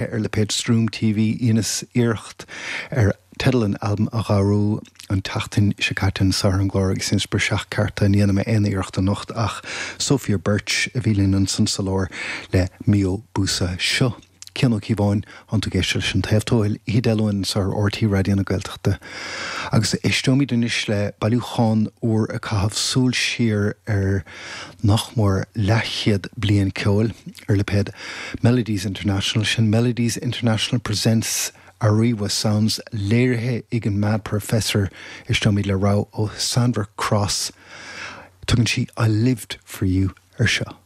Ar lipéad Stroom TV, dheineas iarracht ar teideal an albaim a dhearbhú an tseachtain seo caite anso ar an gclár agus dheineas briseadh cearta, ní dhéanfaidh mé aon iarracht anocht ach Sophia Birch a bhí linn ansan sa lár le Mio Busa. Seo Cian Ó Cíobháin, tánn tú ag éisteacht leis An Taobh Tuathail, oíche Dé Luain anso ar RTÉ Raidió na Gaeltachta. Agus éisteoimid anois le bailiúchán úr ag caitheamh súil siar ar nach mór leathchéad bliain ceoil ar lipéad Melodies International, sin Melodies International Presents Ariwa Sounds, léirithe ag an Mad Professor. Éisteoimid le rogha ó Sandra Cross. Tugann sí I Lived For You ar seo.